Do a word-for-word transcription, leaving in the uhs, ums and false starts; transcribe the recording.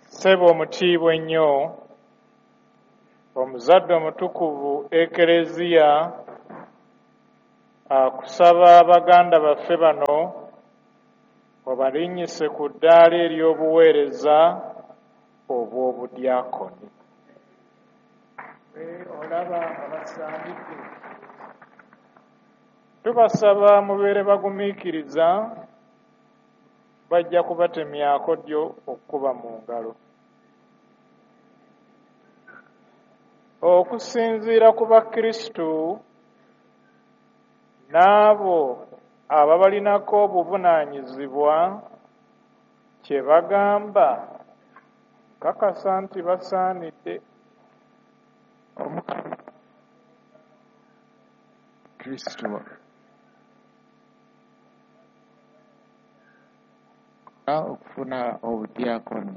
Ssebo omutiibwa ennyo, omuzadde omutukuvu Ekereziya akusaba baganda baffe bano obalinnyise ku ddaala ery'obuweereza obw'obudyakoni. Ggwe olaba nga basaanidde? Tubasaba mubeere bagumiikiriza bajja kubatemyako ddyo okukuba mu ngalo. Okusinziira ku bakristu n'abo ababalinako obuvunaanyizibwa kye bagamba nkakasa nti basaanidde. Omukama Kristo okufuna obudyakoni.